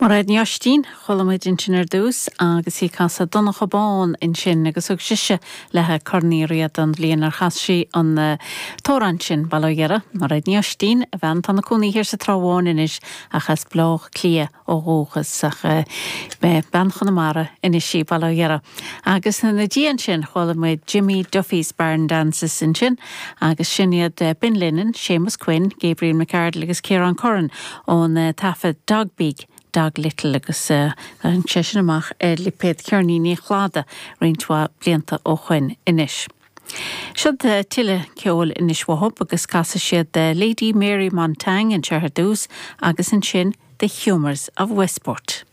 Mairéad Ní Oistín, chuala muid ansin ar dtús agus í ag casadh Donncha Bán ansin agus thug sise léi Corn Uí Riada an bhliain ar chas sí an t-amhrán sin, bail ó Dhia uirthi. Mairéad Ní Oistín, a bhean atá ina cónaí thiar sa Trá Bháin anois ach as Baile Átha Cliath ó dhúchas ach bean Chonamara anois í, bail ó Dhia uirthi. Agus ina diaidh ansin chuala muid Jimmy Duffy's Barn Dances ansin agus sin iad Ben Lennon, Séamus Quinn, Gabriel McArdle agus Ciarán Curran ón taifead Dog Big, Dog Little agus tháinig sé sin amach ar lipéad Cheirníní an Chladaigh roinnt mhaith blianta ó shoin anois. Siod tuilleadh ceoil anois uathub agus casfaidh siad Lady Mary Montagne anseo ar dtús agus ansin The Humours of Westport.